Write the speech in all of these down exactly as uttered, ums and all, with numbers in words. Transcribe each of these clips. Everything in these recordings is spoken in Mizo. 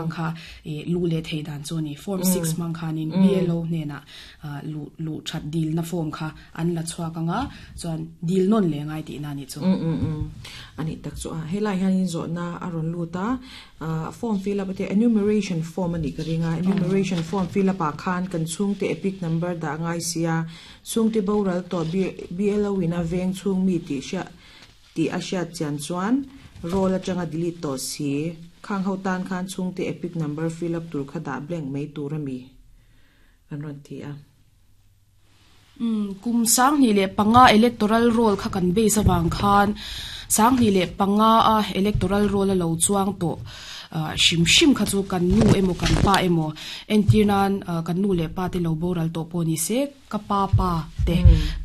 Khang kha e lu le thei dan chu ni form six mang khanin B L O hne na lu lu that dil na form kha an la chhuak anga chuan dil non le ngai ti na ni chu. mm mm mm ani tak chu a helai hian in zo na aron luta form fill up te, enumeration form ani ka ringa. Enumeration form fill up a khan kan chung te EPIC number da ngai sia, chung te boral to B L O ina veng chung mi ti sha ti a sha chan chuan roll atanga delete to si, khang ho tan khan chung te EPIC number fill up tur kha da blank mai tur ami an ron ti a. um kum sang ni le panga electoral roll kha kan base awang khan sang ni le panga a electoral roll a lo chuang to shim shim kha chu kan nu emo kan pa emo entirnan kan nu le pa te lo boral to poni se, ka pa pa te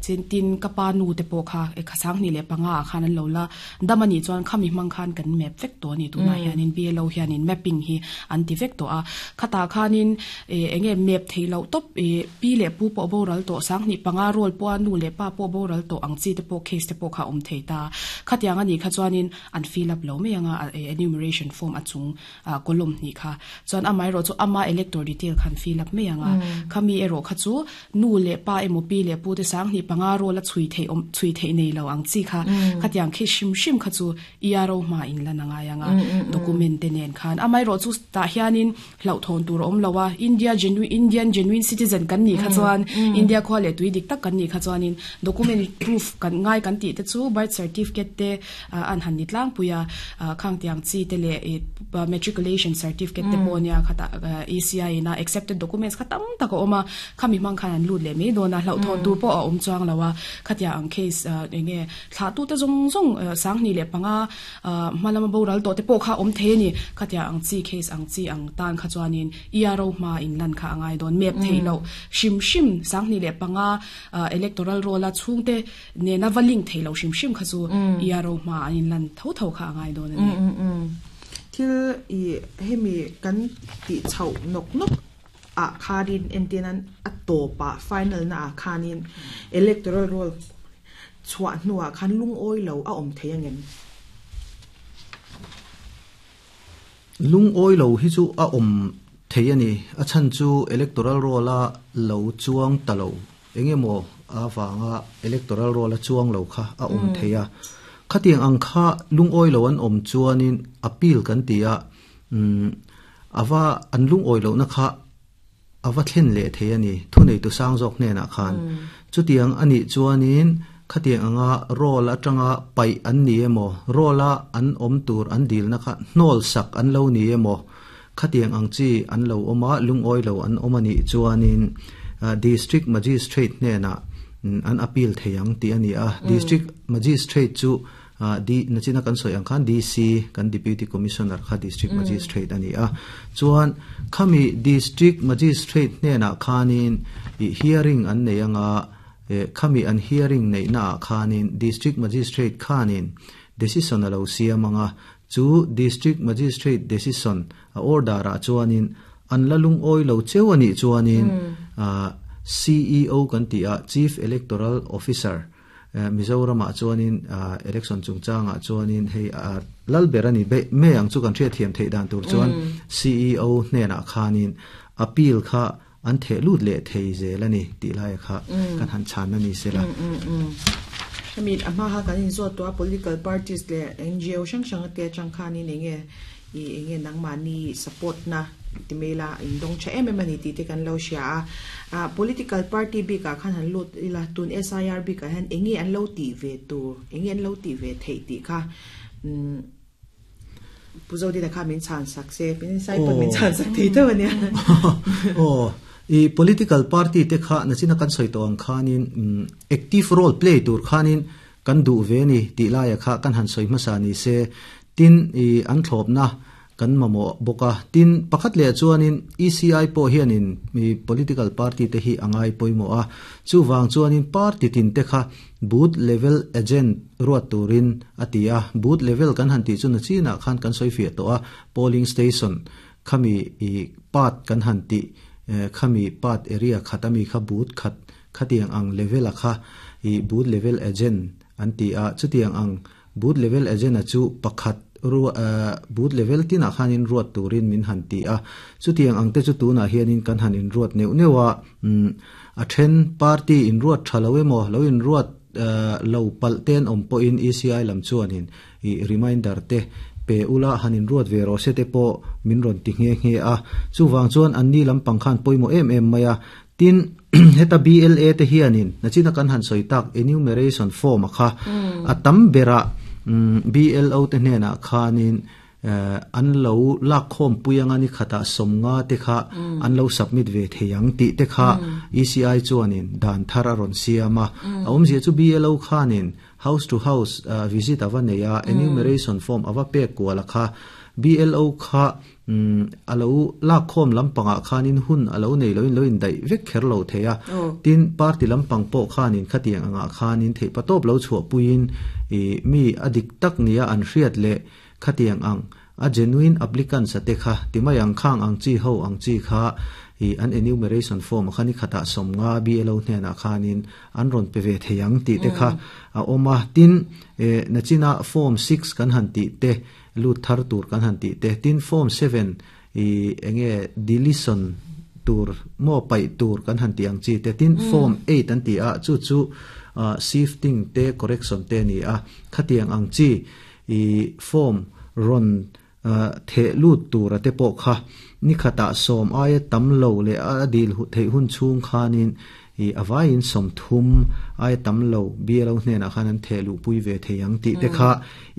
chen tin ka pa nu te po kha e kha sang ni le panga khan an lo la damani chuan khami mang khan kan map vek to ni. Tuna hianin B L O hianin mapping hi an ti vek to a khata khanin e enge map theilo top e pi le pu po boral to, sang ni panga roll po nu le pa po boral to ang chi te po case te po kha om thei ta. Khatiang ani kha chuanin an fill up lo me anga enumeration form achung column ni kha chuan amai ro chu ama elector detail khan fill up me anga. Khami ero kha chu nu le pa emo pi le pu te sang ni panga ro la chui thei om chui thei nei lo ang chi kha khatiang khi shim shim kha chu E R O ma in la na nga yanga document te nen khan. Amai ro chu ta hianin hlau thon tur om lowa, India genuine, Indian genuine citizen kan ni kha chuan, India kho le tui dik tak kan ni kha chuanin document proof kan ngai kan ti te chu birth certificate te an han ni tlang puya khang tiang chi te le matriculation certificate te ponia khata E C I na accepted documents khatam tak oma khami mang khan an lut le me dona hlau thon tur po a om chuang lawa. Khatia ang case enge thla tu te zong zong sang ni le panga malama boral to te po kha om the ni. Khatia ang chi case ang chi ang tan kha chuanin E R O ma in lan kha angai don. Map theilo shim shim, sang ni le panga electoral roll a chhungte ne na waling theilo shim shim kha chu E R O ma in lan tho tho kha angai don ani. Thil i hemi kan ti chau nok nok a kharin entinan a topa final na a khanin electoral roll chua nuwa khan lung oi lo a om theyangem? Lung oi lo hi chu a om thei ani. A chan chu electoral roll a lo chuang talo engemo a wanga electoral roll a chuang lo kha a om theia. Khatiang ang kha lung oi lo an om chuanin appeal kan tia um awa an lung oi lo na kha awa thlen le thei ani thunei tu sang jok hne na khan. Chutiang ani chuanin khatiang anga roll atanga pai an ni emo, roll a an om tur an dil na kha hnol sak an lo ni emo, khatiang ang chi an lo oma lung oi lo an omani chuanin district magistrate hne na an appeal theiang ti ani a. District magistrate chu di nachina kan soi ang khan D C kan deputy commissioner kha district magistrate ani a. Chuan khami district magistrate hne na khanin hearing an nei anga. Khami an hearing nei na khanin district magistrate khanin decision alo siamanga. Chu district magistrate decision a order a chuanin an lalung oi lo chewani chuanin C E O kan ti a, Chief Electoral Officer. Mizoram a chuanin election chungchanga chuanin hei lalberani be me ang chu kan thria thiam thei dan tur chuan C E O hne na khanin appeal kha an the lut le thei zelani ti lai kha kan han chan na ni sela. I mean ama ha kan in zo to political parties le N G O sang sang te chang khani ne nge i nge nang ma ni support na timela in dong cha em em ani ti te kan lo sha a. Political party bi ka khan han lut ila tun S I R bi ka han enge an lo ti ve tu, enge an lo ti ve thei ti kha um puzo di da kha min chan sak se pin sai pon min chan sak ti to ne. Oh, i political party te kha na china kan soi to ang khanin active role play tur khanin kan du ve ni ti la ya kha kan han soi ma sa ni se tin i an thlop na kan mamo boka. Tin pakhat le chuanin E C I po hianin mi political party te hi angai poimo a. Chu wang chuanin party tin te kha booth level agent ruat turin atia. Booth level kan han ti chu na china khan kan soi fi to a, polling station khami i pat kan han ti khami pat area khatami kha booth khat khatiang ang level a kha i booth level agent an ti a. Chutiang ang booth level agent a chu pakhat ru booth level tin a khanin ruat turin min han ti a chutiang angte chu tuna hianin kan han in ruat neu neuwa a then party in ruat thalo emo lo in ruat lo pal ten om po in E C I lam chuanin i reminder te pe ula hanin ruat ve ro se te po min ron ti nge nge a chuwang chuan anni lam pangkhan poimo em em maya tin heta B L A te hianin nachina kan han soitak enumeration form kha atam bera B L O te hnena khanin an lo lak khom puyanga ni khata somnga te kha an lo submit ve theyang ti te kha E C I chuanin dan thara ron siama awm zia chu B L O khanin house to house visit awa neya enumeration form awa pe kwala kha B L O kha alo lak khom lampanga khanin hun alo nei loin loin dai vek kher lo theya tin party lampang po khanin khatiang anga khanin thei patop lo chhuwa puin e mi adik tak nia an hriat le khatiang ang a genuine applicant sa te kha timayang khang ang chi ho ang chi kha i an enumeration form khani khata somnga B L O hnena khanin an ron pe ve theyang ti te kha a oma tin e nachina form six kan han ti te lut thar tur kan han ti te tin form seven i enge deletion tur mo pai tur kan han ti ang chi te tin form eight an ti a chu chu shifting te correction te ni a khatiang ang chi i form ron the lut tur ate po kha ni khata som ai tam lo le a dil hu thei hun chung khanin i awain som thum ai tam lo B L O hnena khanan the lu pui ve theyang ti te kha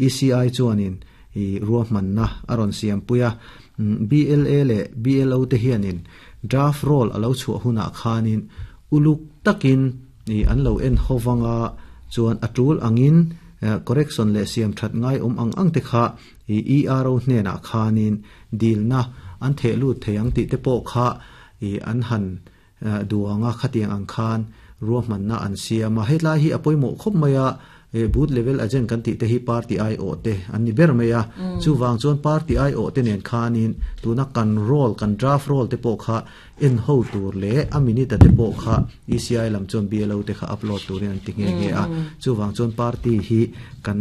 E C I chuanin i ruahman na aron siam puya B L A le B L O te hianin draft roll alo chhuah huna khanin uluk takin i an lo en howanga chuan atul angin correction le siam that ngai om ang ang te kha i E R O hnena khanin dilna an the lu theyang ti te po kha i an han duanga khatiang ang khan ruahman na an siama hetlai hi apoimo khop maya booth level agent kan ti te hi party I O te an ni ber meya chuwang chuan party I O te nen khanin tuna kan roll kan draft roll te po kha en ho tur le a minute te po kha E C I lam chuan B L O te kha upload turin an ti nge nge a chuwang chuan party hi kan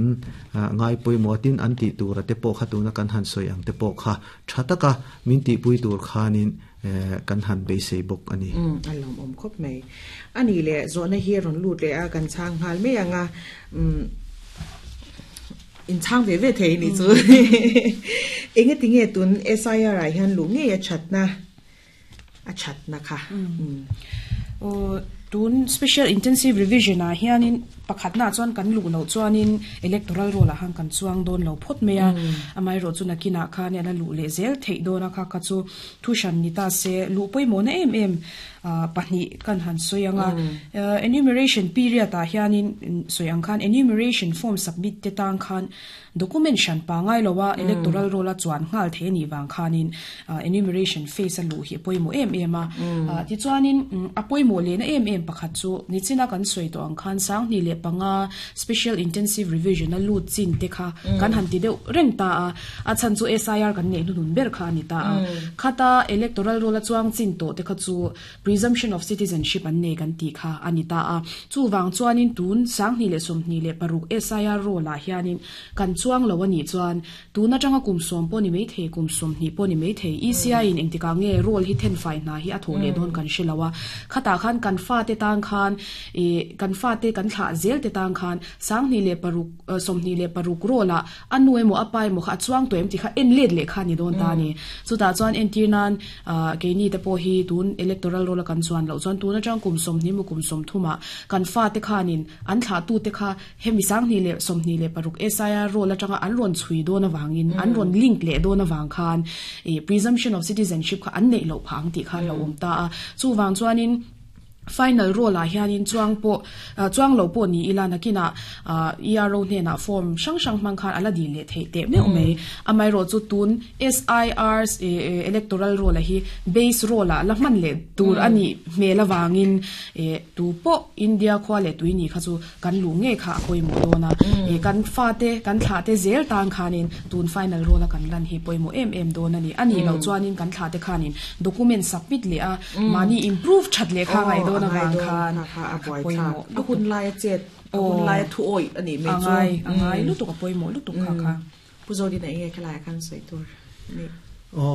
ngai poimo tin an ti tur te po kha tuna kan han soi ang te po kha thataka min ti pui tur khanin kan han be sei bok ani um alom om khop mai ani le zona hi ron lut le a kan chang hal me anga um in chang ve ve thei ni chu enge tinge tun S I R ai han lu nge ya chatna a chatna kha um o tun special intensive revision a hianin pakhat na chuan kan lu lo chuanin electoral roll a hang kan chuang don lo phot meya amai ro chu nakina khan ala lu le zel thei dona kha kha chu thushan ni ta se lu poimo na em em pahni kan han soyanga enumeration period a hianin soyang khan enumeration form submit te tang khan document shan pa ngai lowa electoral roll a chuan ngal the ni wang khanin enumeration phase a lu hi poimo em em a ti chuanin apoimo le na em em pakhat chu nichina kan soi to ang khan sang ni le panga special intensive revision a lu chin te kha kan han ti deuh reng ta a a chan chu S I R kan nei nun ber kha ni ta a khata electoral roll a chuang chin to te kha chu presumption of citizenship an nei kan ti kha ani ta a chu wang chuanin tun sang ni le som ni le paruk S I R roll a hianin kan chuang lo ani chuan tuna tanga kum som poni mei the kum som ni poni mei the E C I in engtika nge roll hi then fai na hi a tho le don kan hrilawa khata khan kan fa te tang khan e kan fa te kan thla zel te tang khan sang ni le paruk som ni le paruk rola anu emo apai mo kha chuang to em ti kha en let le kha ni don ta ni chu ta chuan en tir nan ke ni te po hi tun electoral roll kan chuan lo chuan tuna tang kum som ni mu kum som thuma kan fa te khanin an thla tu te kha hemi sang ni le som ni le paruk S I R roll atanga an ron chui don awangin an ron link le don awang khan e presumption of citizenship kha an nei lo phang ti kha lo om ta a chu wang chuanin final roll a hianin chuang po chuang lo po ni ila nakina E R O hne na form sang sang mang khan ala di le thei te me me amai ro chu tun S I R electoral roll a hi base roll a la man le tur ani mela wangin e tu po India khwa le tuini kha chu kan lu nge kha koi mo do na e kan fa te kan thla te zel tang khanin tun final roll a kan lan hi poi mo em em do na ni ani lo chuanin kan thla te khanin document submit le a mani improve that le kha ngai do na wang khan a poi mo a hun lai chet hun lai thu oi ani me chu angai angai lu tu ka poi mo lu tu kha kha Pu Zodina enge khalai khan soi tur ni. O.